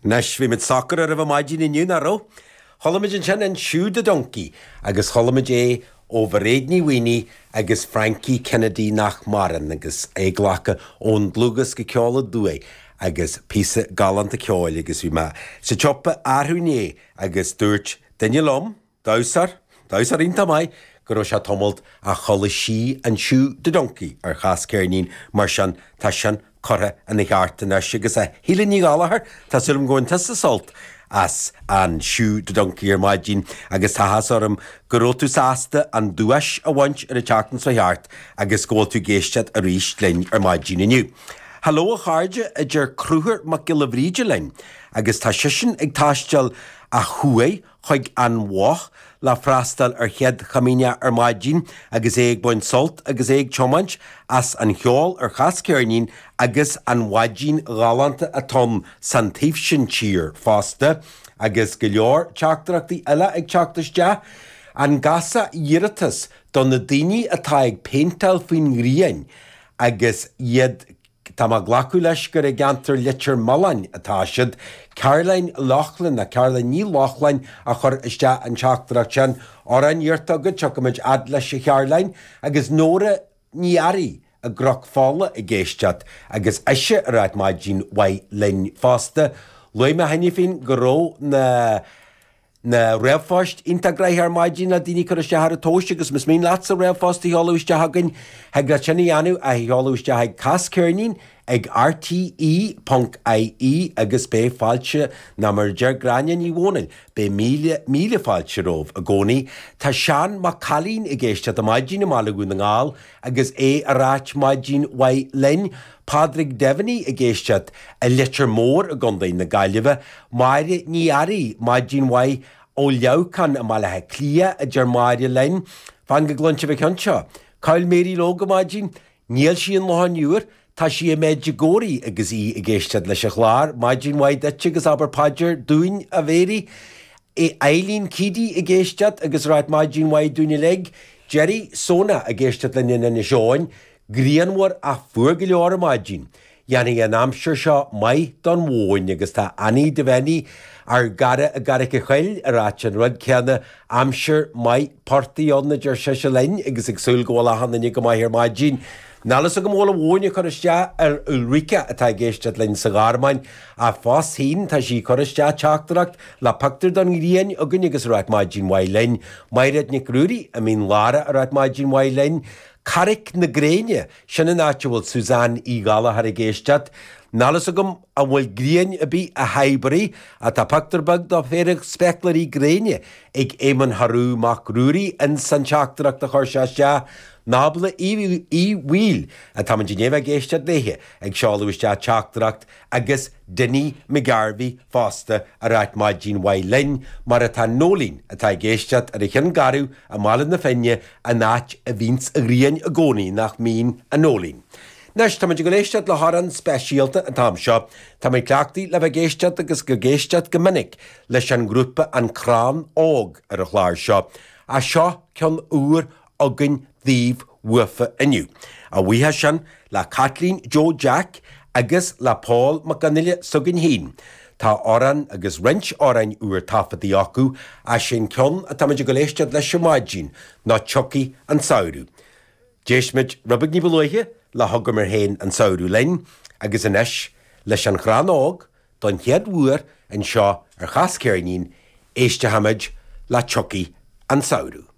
Anois, bhí muid socair oraibh ar maidin inniu, nach raibh? Chuala muid ansin an Shoe the Donkey agus chuala muid é ó Mhairéad Ní Mhaonaigh agus Frankie Kennedy nach maireann agus é glactha ón dlúthdhiosca Ceol Aduaidh agus píosa galánta ceoil agus bhí mé sa tsiopa arú inné agus dúirt duine liom, Damhsóir, damhsóir iontach maith, go raibh sé tamalt ó chuala sí an Shoe the Donkey ar Chas Ceirnín, mar sin tá sin curtha ina cheart anois. Agus a Shíle Ní Ghallchóir, tá súil agam go bhain tusa sult as an Shoe the Donkey ar maidin agus tá áthas orm go raibh tú sásta an duais a bhaint ar an tseachtain seo thart agus go bhfuil tú ag éisteacht arís linn ar maidin inniu. Hello a chairde, a deir Conchúr Mac Giolla Bhríde linn agus tá seisean ag taisteal ó thuaidh chuig an Bhoth le freastal ar Chéad Chomaoineach ar maidin agus é ag baint sult agus é ag tiomáint as an cheol ar Chas Ceirnín agus an mhaidin ghalánta atá ann san taobh sin tír fosta agus go leor teachtaireachtaí eile ag teacht isteach. An gcasfá iarratas do na daoine atá ag péinteáil faoin ngrian agus iad Tá mé ag glacadh leis gur i gceantar Leitir Mealláin atá siad. Caroline Loughlin, nó Caroline Ní Lochlainn a chuir isteach an teachtaireacht sin. Amhrán iarrta agat, tiocfaimid fhad leis a Charoline. Agus Nóra Ní Fhearraigh i gCnoc Fola ag éisteacht agus ise ag ráit maidin mhaith linn fosta. Luaigh mé cheana féin go raibh na. Na ríomhphoist iontach gnoitheach ar maidin le daoine ag cur isteach ar an tomhais agus más mian leatsa ríomhphost a sheoladh isteach chugainn, thig leat sin a dhéanamh ach a sheoladh isteach ag Cas Ceirnín ag rte ponc ie agus beidh fáilte, nó mar a deir Gráinne Ní Dhomhnaill, beidh míle, míle fáilte romhaibh i gcónaí. Tá Seán Mac Cailín ag éisteacht ar maidin i mBaile Dhún na nGall agus é ag ráit maidin mhaith linn. Pádraig Devaney ag éisteacht i Leitir Móir i gContae na Gaillimhe. Máire Ní Fhearraigh, Maidin mhaith ó Leamhcán i mBaile Átha Cliath, a deir Máire linn. Fan go gcluinsibh an ceann seo. Cá bhfuil Mary Logue ar maidin? Níl sí in Loch an Iúir. Tá sí i Medjugorje agus í ag éisteacht leis an chlár. Maidin mhaith duit agus abair paidir dúinn, a Mhary. Eileen Keady ag éisteacht agus ag ráit maidin mhaith dúinn uilig. Gerry Sona ag éisteacht linn in Inis Eoghain. Grianmhar ach fuar go leor ar maidin. Dhéanfaidh an aimsir seo maith don mhóin agus tá Annie Devenny, ár gcara i gCarraic a' Choill, ag ráit an rud céanna, aimsir maith portaigh ann a deir sise linn agus ag súil go bhfuil achan duine go maith ar maidin. Níl fhios agam an bhfuil an mhóin ag cur isteach ar Ulrike atá ag éisteacht linn sa Ghearmáin ach fós féin tá sí ag cur isteach teachtaireacht le pictiúr don ghrian againn agus ag ráit maidin mhaith linn. Mairéad Nic Ruairí i Mín Lárach ag ráit maidin mhaith linn. Carraic na Gréine, sin an áit a bhfuil Suzanne Uí Ghallchóir ag éisteacht. Níl fhios agam an bhfuil grian ar bith a Highbury ach tá pictiúr beag do phéire spéacláirí gréine ag Éamonn Harú Mac Ruairí ins an teachtaireacht a chuir sé isteach. Nábla Uí Bhaoill, atá muid i ndiaidh a bheith ag éisteacht léithe, ag seoladh isteach teachtaireacht agus Dinny McGarvey fosta ag ráit maidin mhaith linn, mar atá Noeleen atá ag éisteacht ar an Chionn Garbh i mBaile na Finne, an áit a bhíonns an ghrian i gcónaí, nach mbíonn, a Noeleen? Anois, táimid ag dul éisteacht le hamhrán speisialta an t-am seo. Táimid cleachtaithe le bheith ag éisteacht agus ag éisteacht go minic leis an ngrúpa An Crann Óg ar an chlár seo, ach seo ceann úr againn daoibh uafa inniu. A bhuíochas sin le Caitlín Joe Jack agus le Pól Mac Fhionnghaile s'againn féin. Tá amhrán agus roinnt amhráin úr taifeadtaí acu, ach sé'n ceann atáimid ag dul éisteacht leis ar maidin ná Tiocfaidh an Samhradh. D'éist muid rud beag ní ba luaithe le Thugamar Féin an Samhradh Linn agus anois leis An Chrann Óg don chéad uair anseo ar Chas Ceirnín, éistfimid le Tiocfaidh an Samhradh.